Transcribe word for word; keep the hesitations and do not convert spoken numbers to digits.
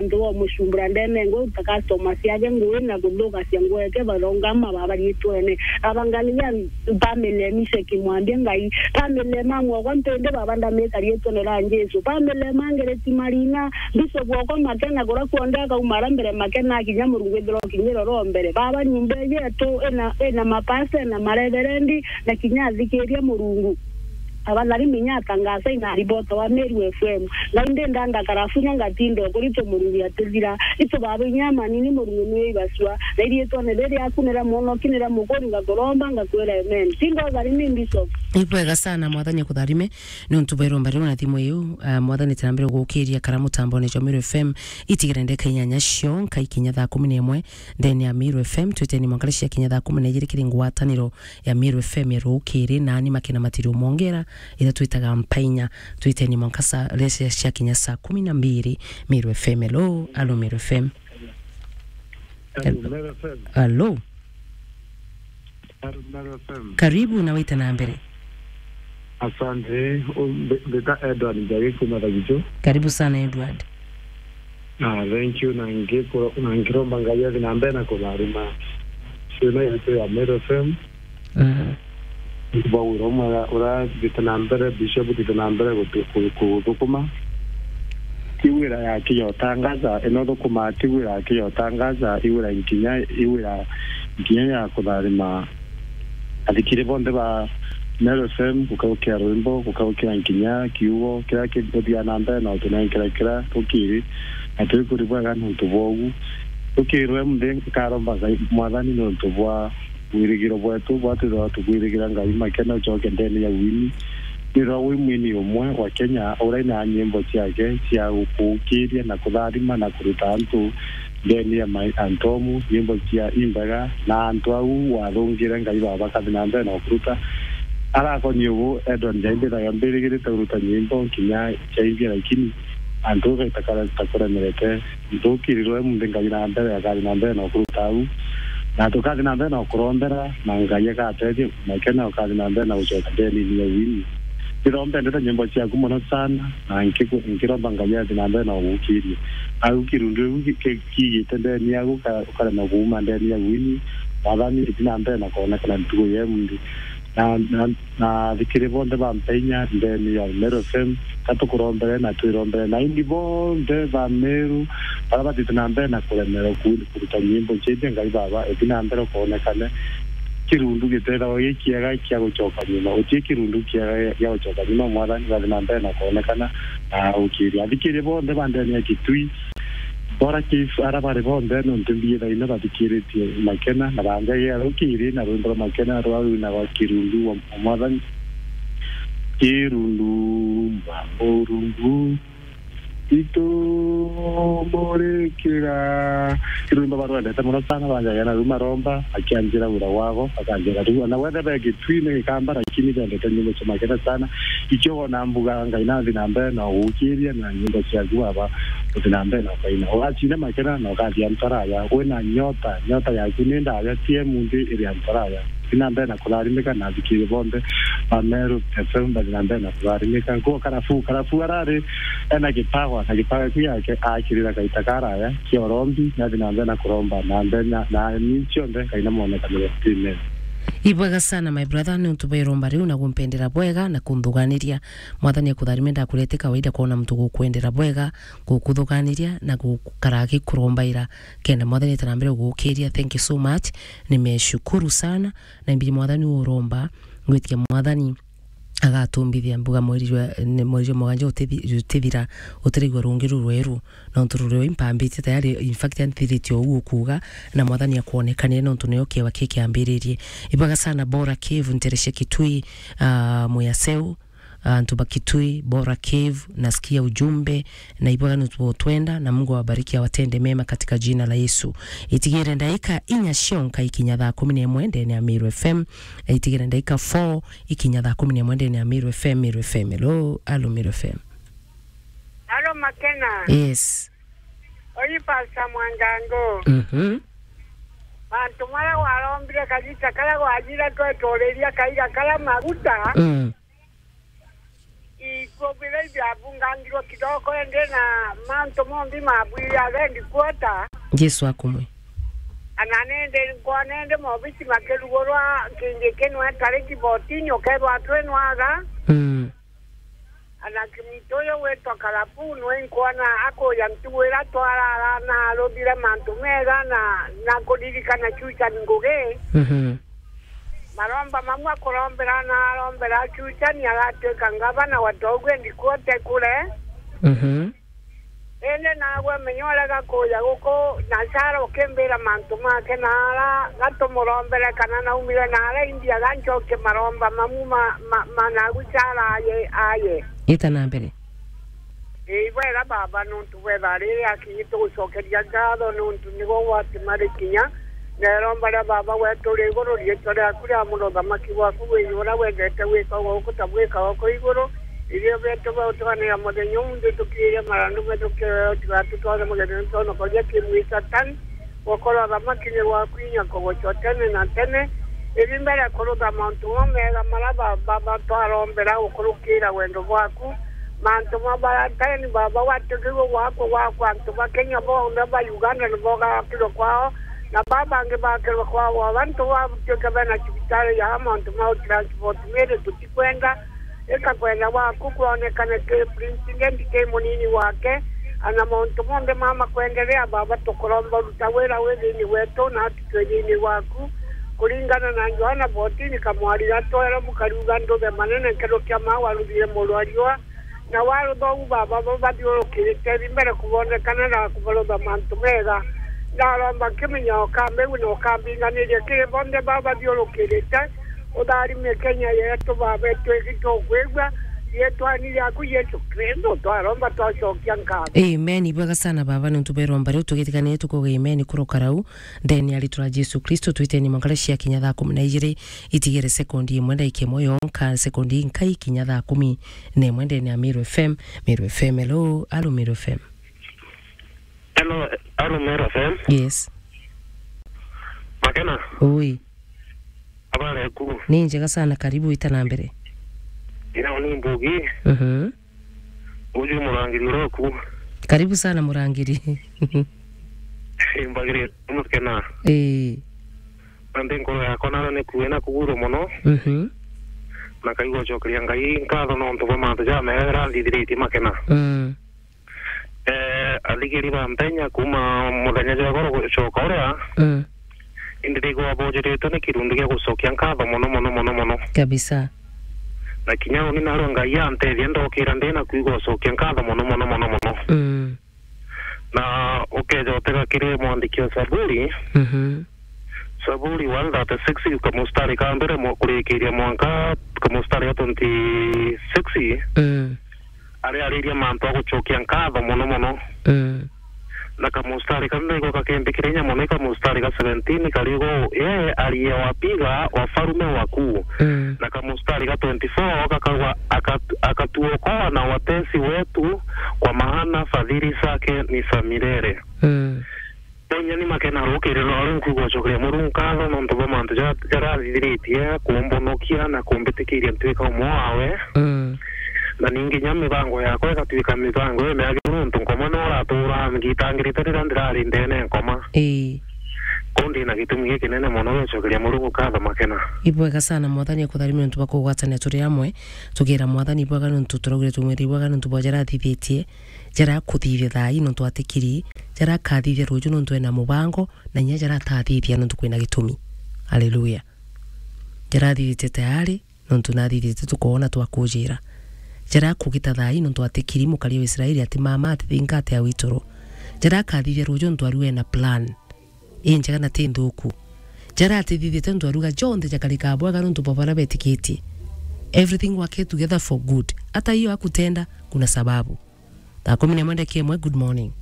Antu bo mucumbura ndene ngwe uta customers yake ngui na kuthukacia ngweke barongama baba riitwene. Abangalia family mise kimwambia Ngai. Family mamwe kwa ntende baba ndamika riitwene ra Jesu. Family mangereti marina. Bishop wakwa Makena kura kuonde akaumara mbere Makena akinya Murungu ithiro kinyiro ro mbere. Baba nyumba yetu ina, ina mapasta na mareverendi na kinya athikiria Murungu. Abathari minya atangaza ina ribota wa Meru F M. Ngai ndenda ndakarafunya ngatinda ukuri tu Murungu atithira. Itu baba inya manini Murungu niwe ibasua. Na iriitwene riri aku nira mwonoki nira mukuri ngakuromba ngakwira amen. Tinda uthari ni Bishop. Ibwega sana, Mwathani akutharime. Ni untu bwa iromba riu na thimu iu, ah, Mwathani tena mbere gukiria kara mutambone jwa Meru F M, itigire ndeka inyanya cio, nkai kinya thaa kumi na imwe, ndene ya Meru F M, twiteni mwanka cia kinya thaa kumi na ijiri kiri ngwataniro ya Meru F M ya rukiri, nani Makena Matirio Mongera, ira twitaga Mpainya, twiteni mwanka sa, cia, cia kinya saa kumi na mbiri, Meru F M, hello, alo Meru F M. Hello, Meru F M. Hello. Hello, Meru F M. Karibu na wite na mbere. Asante. U-, mbi-, mbita Edward Njagi kuma Thagichu. Karibu sana, Edward. Ah, thank you. Na ngiku-, na ngiromba Ngai athi na mbere na kutharima ciana yetu ya Meru F M. Mhm. Bwa wira umwe ura-, urathite na mbere, Bishop, thite na mbere gutu-, ku-, kuthukuma. Ti wira ya kiyotangaza, ino thukumaa ti wira ya kiyotangaza, i wira nkinya, i wira nkinya ya kutharima athikiri bonthe ba Meru F M, gukaukia rwimbo, gukaukia nkinya kiugo kiria kiguthia na mbere na utunenkera kiria tukiri, na twikuri bwega nontu bwa ugu. Tukirwe munthi nkaromba Ngai, Mwathani, nontu bwa wirigiro bwetu, bwa twithagwa tukwirigira Ngai Makena ucoke ndene ya wini. Nirwa wi mwini umwe wa Kenya uraina nyimbo ciake cia gukukiria na kutharima na kuruta antu ndene ya mai-, antu omu, nyimbo cia imbega, na antu au wathungire Ngai Baba kathi na mbere na ukuruta. Arakoni ugu, Edward Njai mbithaga mbirigirite kuruta nyimbo nkinya ciaimbia, lakini antu ugaita kara-, ta kuremerete. Ntukirirwe munthi Ngai na mbere, akathi na mbere na ukuruta au. Na tukathi na mbere na ukurombera, na Ngai agatethia, Makena ukathi na mbere na gucoka ndene ya wini. Ndithomba ndete nyimbo ciaku mono sana, na nkiku-, nkiromba Ngai athi na mbere na ugukirie. Au kirundu iu ki-, ki-, kiigite ndene yaku, uka-, ukarema kuuma ndene ya wini, Mwathani, ithi na mbere na kwonekana ntuku ya munthi. Na, na, na athikiri bonthe bampe inya ndene ya Meru F M, ka tukurombere na twirombere. Na indi bonthe ba Meru, baria bathite na mbere na kuremerwa ku-, kuruta nyimbo ciitie Ngai Baba, ithi na mbere ukoonekane. Kirundu gitethagwa gi kiega kia gucoka nyuma. Uti kirundu kiega gia gucoka nyuma, Mwathani, bathi na mbere na kuonekana na ukiria. Athikiri bonthe ba ndene ya Kitui, Bora Chief, ara bari bonthe, nontu mbithaina bathikiritie Makena, na banjagia rukiri na rwimbo rwa Makena rwa rwinagwa Kirundu wa, wa Mwathani. Kirundu wa Murungu, itumurikira. Kirundu barwendete mono sana, banjagia na ruma romba, akianjira wira wago, akanjira tu. Na wethe be Kitui ni Gikamba, lakini bendete nyimbo cia Makena sana. Ikio wona mbuga Ngai nathi na mbere na ugukiria na nyimbo ciaku Baba, uthi na mbere na ukaina. Ugacinda Makena na ukathia antu araya. Wina nyota, nyota yaku ni ndaya, ti ya munthi iri antu araya. Uthi na mbere na kutharimika na athikiri bonthe ba Meru F M bathi na mbere na kutharimika. Nkuo Karafu, Karafu arari ena gipawa, na gipawa kiu yake akirira kaita karaya kia urombi, nathi na mbere na kuromba na mbere na, na ni cionthe Ngai na mwonekanire. Amen. Ibwega sana, my brother, ni untu bwa iromba riu na gumpendera bwega na kunthuganiria. Mwathani akutharime, ndakurete kawaida kwona muntu gukwendera bwega, gukuthuganiria na gukara agikurombaira, kenda Mwathani atarambire gugukiria. Thank you so much. Nimeshukuru sana. Na imbiri Mwathani uromba, ngwitia Mwathani agatumbithia mbuga mweri jwa, ni mweri jwa mugwanja utithi-, utithira, utiraigua rungi ruru rweru, nontu ruru rweu impambitie tayari, in fact, anthiritie uu ukuuga, na Mwathani akwonekanie nontu nio kiewa kikiambiririe. Ibwega sana Bora Cave, nterecia Kitui, ah, Muyaseu, antu ba Kitui, Bora Cave, nasikia ujumbe, na ibwega nutwenda, na Mungu awabariki, awatende mema katika jina la Yesu. Itigire ndaika inya cionka ikinya thaa kumi na imwe ndene ya Meru F M, na itigire ndaika four ikinya thaa kumi na imwe ndene ya Meru F M, Meru F M. Hello, alo Meru F M. Alo Makena. Yes. Oyi Pastor Mwangango. Mhm. Bantu mara warombire kagita kara gwajire tweturiria kaiga kara maguta. Mm. I-, Probably biabungangirwe kidogo, indi na mantu monthe mabwire agendi kuota. Jesu akumwe. Ana nindi nkona indi mobisi makirugurwa kingi kinwe tari kibotini, ukethwa twinwaga. Mm. Ana kimuntu uyu witwa Karabu nwe nkwona akuya ntugu ira twarara na aruthire mantu mega na, na kuririkana chucha ni ngugi. Mhm. Maromba mamwe akurombera na arombera chucha ni agatuika ngavana wa togu endi kuote kure. Mhm. Indi nagwe menya urega kuja guku na Sara ukimbira mantu make na ara gatumurombere kana naumire na ara India gancokie maromba mamu ma, ma, ma nagu Sara aye, aye. Ita na mbere. Ii, bwega baba, nuntu bwetha riri akinyi tugucokeria ngatho nuntu nigo gwatima rikinya. Neromba ria baba wetu ri iguru, riitwa riaku ria muthamaki bwaku wi uria wendete gwikaga guku ta bwikaga ku iguru. Irio bietu bia utuganira muthenya umunthi tukiire marandu metu kiweo, tigatutware mugenene twonokoria kimwi Satani. Gukorwa uthamaki ni gwaku inya kugucwa tene na tene. Ithi mbere kurutha mantu mo mega mara ba, ba, ba twarombera gukurukira wendo bwaku. Mantu ma Valentine baba watikirwe gwakwa gwakwa antu ba Kenya bonthe ba Uganda nibo gakirwe kwao. Na baba bangi bakirwe kwao. Abantu batuike bena cibitari ya mantu ma transport miri tutikwenda. Ika kwenda gwaku kwonekane ki president ki munini wake, ana mauntu monthe mama kwenderea, baba, tukuromba ruta wira wi thiini wetu na atutwe thiini waku, kuringana na Johana fourteen kamwari ga twelve kariuga, nduthe manene nkerukia maa waruthire muru wa riua, na warutha uu, baba, bo bathiurukirite thi mbere kubonekana na kubarutha mantu mega. Ndaromba kimenyo ukambigua na ukambinganiria kiri bonthe baba bathiurukirite. Utharime Kenya yetu, baba, itwiki tukwigua, riitwani riaku Yesu Kristo twaromba twacokia nkatho. Amen. Ibwega sana baba, nuntu bwa iromba riu tugitikanire tukuga amen kuruka rau. Ndeni ya ritwa ria Jesu Kristo, twiteni mwanka cia kinya thaa kumi na ijiri, itigire sekondi imwe ndagika imwe yonka, sekondi inkai kinya thaa kumi na imwe ndeni ya Meru F M. Meru F M, hello, alo Meru F M. Hello, alo Meru F M. Yes. Makena? Ui. Habari yaku? Ni njega sana, karibu, ita na mbere. Ina ni mbugi. Mhm. Uju murangiri uria oku. Karibu sana murangiri. Mbagire mukena. Ii. Na ndi nkoro yakwa nara ni kuwe na kugurwa mono. Mhm. Na kaigua gucokeria Ngai nkatho nontu bwa mantu jamega jaria anthithiritie Makena. Mm. Eh, athikiri ba mpenya kuma muthenya jwa igoro gucoka uria, mm, indi ndigwa bojeretwe ni kirundu gia gucokia nkatho mono, mono, mono, mono. Kabisa. Na kinya uni narua Ngai antethia ndokira ndi na kwigua gucokia nkatho mono, mono, mono, mono. Mm. Na ukeja utega kiri mwandiki wa Saburi, mhm, Saburi one thirty-six, kamustari ka mbere mo-, kurikiria mwanka kamustari ka twenty-six. Mm. Ariariria mantu a gucokia nkatho mono mono. Mm. Na kamustari kau niko kakimbikira inya mono, i kamustari ka seventeen kariuga, "Yeye aliyewapiga wafalme wakuu." Mm. Na kamustari ka twenty-four kakauga, "Akat-, akatuokoa na watesi wetu, kwa maana fadhili zake ni za milele." Mm. Tonya ni Makena rukiri rwa ru nkuigua gucokeria Murungu nkatho nontu bwa mantu ja-, jaria athithiritie kumbonokia na kumbitikiria ntuika umwe wawe. Mm. Na ningi nya mibango yakwa igatuika mibango imiagiru nontu nkomwe no uratuura ngitangirite riria ndirari ndene nkoma. Ii. Kou ndi na gitumi gikinene mono gia gucokeria Murungu nkatho Makena. Ibwega sana, Mwathani akutharime nontu bwa kugwatania turi amwe. Tugira Mwathani ibwega nontu turaugire tumwire ibwega nontu bwa jaria athithitie. Jaria akuthithia thaa ii nontu atikiri, jaria akathithia ruju nontu ena mubango, na inya jaria atathithia nontu kwina gitumi. Haleluya. Jaria athithite tayari nontu nathithite tukoona twakujira. Jaria akugita thaa ii nontu atikiri mukari wa Israeli ati mama atithinga ati awituru. Jaria akathithia ruju nontu ariu ena plan injega na ti nthuku. Jaria atithithite nontu ariuga jonthe jakarika bwega nontu bwa baria betikitie. Everything work together for good. Hata hiyo hakutenda, kuna sababu. Thaa kumi na imwe ndagika imwe, good morning.